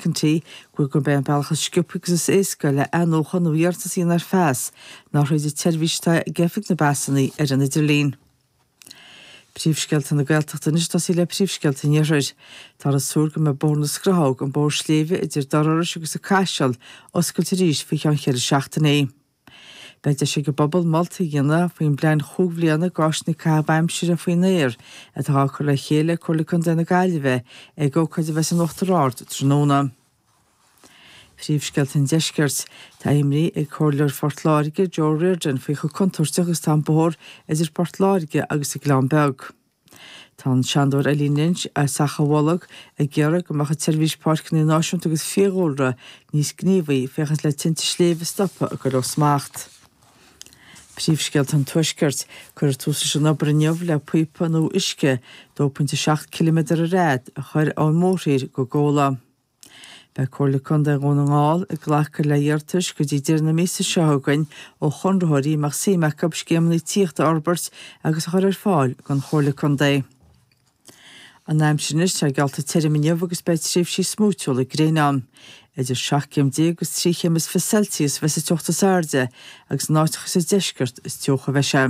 McEntee gurb é an bealach is sciobtha agus is éasca le athnuachan nó iarratas a dhéanamh ar phas ná thríd an tseirbhís atá ag Oifig na bPasanna ar an idirlíon. Príomhscéalta na Gaeltachta anois ag tosaí le príomhscéalta an Iarthair. Táthar ag súil go mbeidh Bóthar na Scrathóg, an bóthar sléibhe idir Doire Iorrais agus an Caiseal, oscailte arís faoi cheann cheithre seachtainí. Beidh deis ag an bpobal moltaí a dhéanamh faoin bplean chúig bhliana d'áiseanna caitheamh aimsire faoin aer atá á cur le chéile ag Comhairle Contae na Gaillimhe ag ócáid a bheas in Uachtar Ard tráthnóna. Príomhscéalta an Deiscirt. Tá imní ag Comhairleoir Phort Láirge, Joe O'Riordan, faoi chomh contúirteach agus atá an bóthar idir Port Láirge agus an Gleann Beag. Tá an Seanadóir Eileen Lynch as Achadh Bholg ag iarraidh go mbeadh an tSeirbhís Páirceanna Náisiúnta agus Fiadhúlra níos gníomhaí féachaint le tinte sléibhe a stopadh ag dul ó smacht. Príomhscéalta an Tuaiscirt. Cuirfear tús leis an obair inniu le píopa nua uisce 2.7 ciliméadar ar fhad a chur ón mórthír go Gabhla. Beidh Comhairle Contae Dhún na nGall ag glacadh le hiarratais go dtí deireadh na míosa seo chugainn ó chonraitheoirí a mbeadh suim acu scéimeanna tithíochta a fhorbairt agus a chur ar fáil don Chomhairle Contae. An aimsir anois, tá geallta tirim inniu agus beidh tréimhsí smúitiúla gréine ann. Idir 17 céim agus 23 chéim Celsius a bheas an teocht is airde agus in áiteacha sa deisceart is teocha a bheidh sé.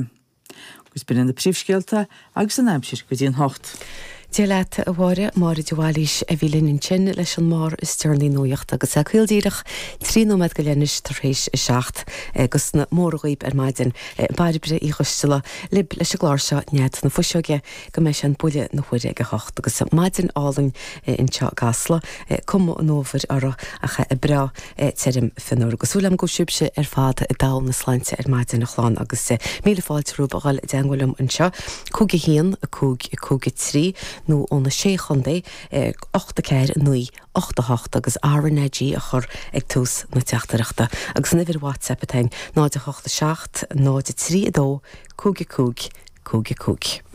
Agus b'in iad na príomhscéalta agus an aimsir go dtí an hocht. Dia leat, a Mháire. Máire de Bhailís a bhí linn ansin leis an mbarr is deireanaí nuachta agus é caol díreach 13 nóiméad go leith anois tar éis a 7. Agus na móra dhaoib ar maidin. Bairbre Uí Choisteala libh leis an gclár seo Nead na Fuiseoige go mbeidh sé an buille na huaire ag a hocht agus maidin álainn anseo i gCasla, cuma an fhómhair orthu ach breá tirim fionnuar. Agus súil agam go bhfuil sibhse ar fad i dtogha na sláinte ar maidin, a chlann, agus míle fáilte romhaibh a dhul i dteangmháil liom anseo, 5 1 5 5 3, nó ó na Sé Chontae, 8 4 9 8 8, agus RnaG a chur ag tús na teachtaireachta. Agus an uimhir WhatsApp atá ann, 0 8 7 0 3 2 5 5 5 5.